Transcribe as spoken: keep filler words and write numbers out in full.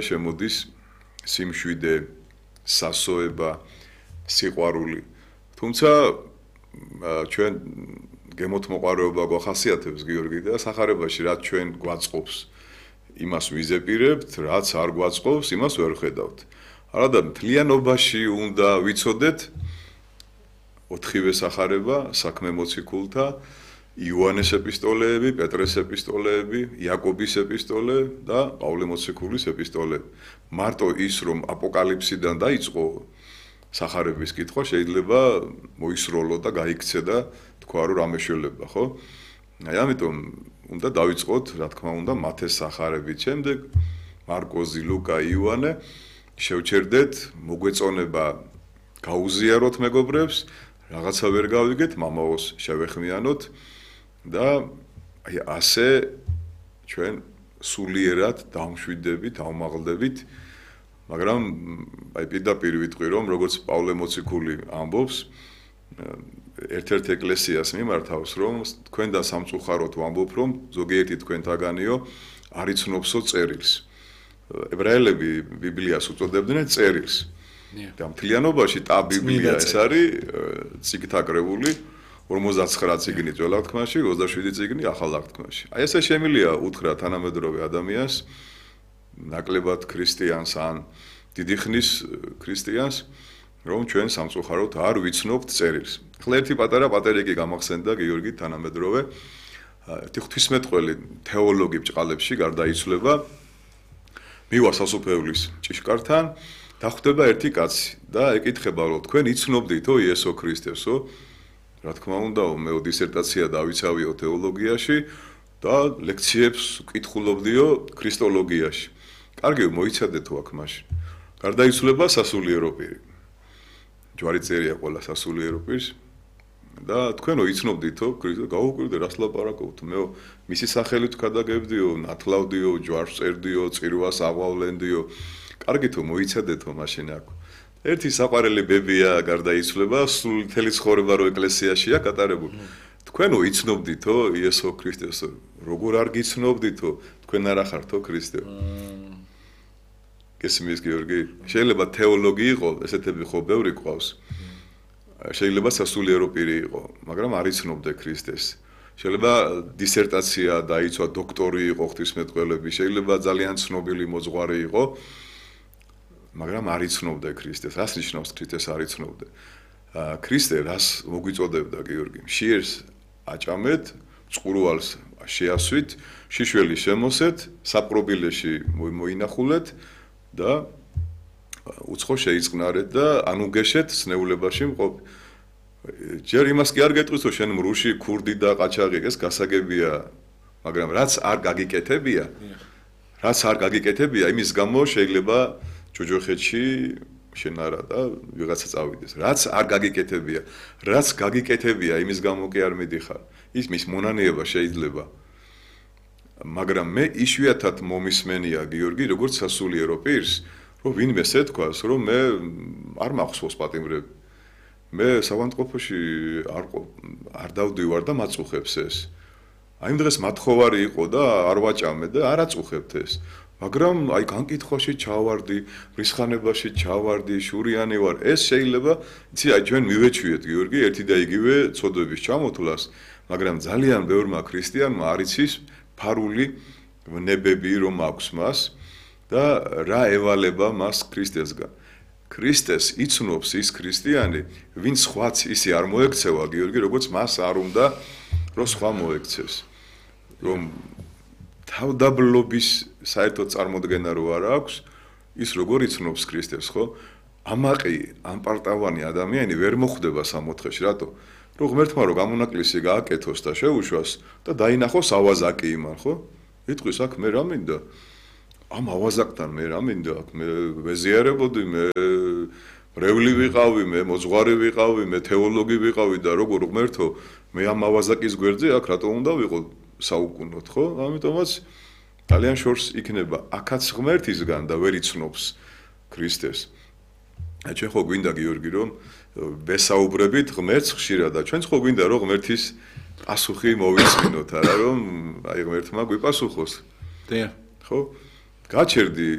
შემოდის სიმშვიდე, სასოება, სიყვარული. თუმცა ჩვენ გემოთმოყვარეობა გვახასიათებს გიორგი და სახარებაში რაც ჩვენ გვაწყობს, იმას ვიზეპირებთ, რაც არ გვაწყობს, იმას ვერ ხედავთ. არადა მთლიანობაში უნდა ვიცოდეთ ოთხივე სახარება, საქმე მოციქულთა, იოანეს ეპისტოლეები, პეტრეს ეპისტოლეები, იაკობის ეპისტოლე და პავლე მოციქულის ეპისტოლე. მარტო ის რომ აპოკალიფსიდან დაიწყო სახარების კითხვა შეიძლება მოისროლო და გაიქცე და თქვა რომ რამე შეიძლება, ხო? აი ამიტომ უნდა დავიწყოთ, რა თქმა უნდა, მათეს სახარებით, შემდეგ მარკოზი, ლუკა, იოანე, შევჩერდეთ, მოგვეწონება გაუზიაროთ მეგობრებს, რაღაცა ვერ გავიგეთ, მამაოს შევეხმიანოთ და აი ასე ჩვენ სულიერად დავმშვიდდებით, დავმაღლდებით, მაგრამ აი პირდაპირ ვიტყვი რომ როგორც პავლე მოციქული ამბობს, ერთ-ერთ ეკლესიას მიმართავს რომ თქვენ და სამწუხაროდ ვამბობ რომ ზოგიერთი თქვენთაგანიო არ იცნობსო წერილს. ებრაელები ბიბლიას უწოდებდნენ წერილს. და მთლიანობაში და ბიბლია ეს არის წიგნთაკრებული ორმოცდაცხრა წიგნი ძველ აღთქმაში, ოცდაშვიდი წიგნი ახალ აღთქმაში. აი ესე შემილია უთხრა თანამედროვე ადამიანს, ნაკლებად ქრისტიანს ან დიდი ხნის ქრისტიანს, რომ ჩვენ სამწუხაროდ არ ვიცნობთ წერილს. ახლა ერთი პატარა პატერიკი გამახსენდა გიორგი თანამედროვე, ერთი ღვთისმეტყველი თეოლოგი ბჭყალებში გარდაიცვლება, მივა სასუფეულის ჭიშკართან და ხვდება ერთი კაცი და ეკითხება რომ თქვენ იცნობდითო იესო ქრისტესო? რა თქმა უნდა, მე დისერტაცია დავიცავიო თეოლოგიაში და ლექციებს კითხულობდიო ქრისტოლოგიაში. კარგი, მოიცადეთო აქ მაშინ. გარდაიცვლება სასულიერო პირი. ჯვარი წერია ყველა სასულიერო პირს და თქვენო იცნობდითო ქრისტე, გაუკვირდე რას ლაპარაკობთ? მე მისი სახელით გადაგებდიო, ნათლავდიო, ჯვარს წერდიო, წირვას აღვავლენდიო. კარგითო მოიცადეთო მაშინ აქ. ერთი საყვარელი ბებია გარდაიცვლება, სულ მთელი ცხოვრება რო ეკლესიაშია გატარებული. თქვენო იცნობდითო იესო ქრისტესო? როგორ არ გიცნობდითო? თქვენ არ ახართო ქრისტე? გესმის გიორგი? შეიძლება თეოლოგი იყო, ესეთები ხო ბევრი ყავს. შეიძლება სასულიერო პირი იყო, მაგრამ არ იცნობდე ქრისტეს. შეიძლება დისერტაცია დაიცვა, დოქტორი იყო ღვთისმეტყველები, შეიძლება ძალიან ცნობილი მოძღვარი იყო. მაგრამ არ იცნობდე ქრისტეს. რას ნიშნავს ქრისტეს არ იცნობდე? ქრისტე რას მოგვიწოდებდა გიორგი? მშიერს აჭამეთ, წყურვალს შეასვით, შიშველი შემოსეთ, საპყრობილეში მოინახულეთ და უცხო შეიწყნარეთ და ანუგეშეთ სნეულებაში მყოფ. ჯერ იმას კი არ გეტყვისო შენ მრუში, ქურდი და ყაჩაღი, ეს გასაგებია, მაგრამ რაც არ გაგიკეთებია, რაც არ გაგიკეთებია, იმის გამო შეიძლება ჯოჯოხეთში შენ არა და ვიღაცა წავიდეს. რაც არ გაგიკეთებია, რაც გაგიკეთებია, იმის გამო კი არ მიდიხარ. ის მის მონანიება შეიძლება. მაგრამ მე იშვიათად მომისმენია გიორგი, როგორც სასულიერო პირს, რომ ვინმე ეთქვას, რომ მე არ მახსოვს პატიმრები. მე სავანტყოფოში არ არ დავდივარ და მაწუხებს ეს. აი იმ დღეს მათხოვარი იყო და არ ვაჭამე და არ აწუხებთ ეს. მაგრამ აი განკითხვაში ჩავარდი, რისხანებაში ჩავარდი, შურიანი ვარ. ეს შეიძლება, იცი, აი ჩვენ მივეჩვიეთ გიორგი ერთი და იგივე ცოდვების ჩამოთვლას, მაგრამ ძალიან ბევრმა ქრისტიანმა არ იცის ფარული ნებები რომ აქვს მას და რა ევალება მას ქრისტესგან. ქრისტეს იცნობს ის ქრისტიანი, ვინც სხვაც ისი არ მოექცევა გიორგი, როგორც მას არ უნდა რომ სხვა მოექცეს. რომ თავდაბლობის საერთოდ წარმოდგენა რო არ აქვს, ის როგორ იცნობს ქრისტეს, ხო? ამაყი, ამპარტავანი ადამიანი ვერ მოხვდება სამოთხეში, რატო? რომ ღმერთმა რო გამონაკლისი გააკეთოს და შეუშვას და დაინახოს ავაზაკი იმან, ხო? იტყვის აქ მე რა მინდა? ამ ავაზაკთან მე რა მინდა? აქ მე ვეზიარებოდი, მე მრევლი ვიყავი, მე მოძღვარი ვიყავი, მე თეოლოგი ვიყავი და როგორ ღმერთო, მე ამ ავაზაკის გვერდზე აქ რატო უნდა ვიყო საუკუნოდ, ხო? ამიტომაც ძალიან შორს იქნება აქაც ღმერთისგან და ვერ იცნობს ქრისტეს. ჩვენ ხო გვინდა გიორგი რომ ვესაუბრებით ღმერთს ხშირად და ჩვენც ხო გვინდა რომ ღმერთის პასუხი მოვიცინოთ, არა რომ აი ღმერთმა გვიპასუხოს. დიახ. ხო? გაჩერდი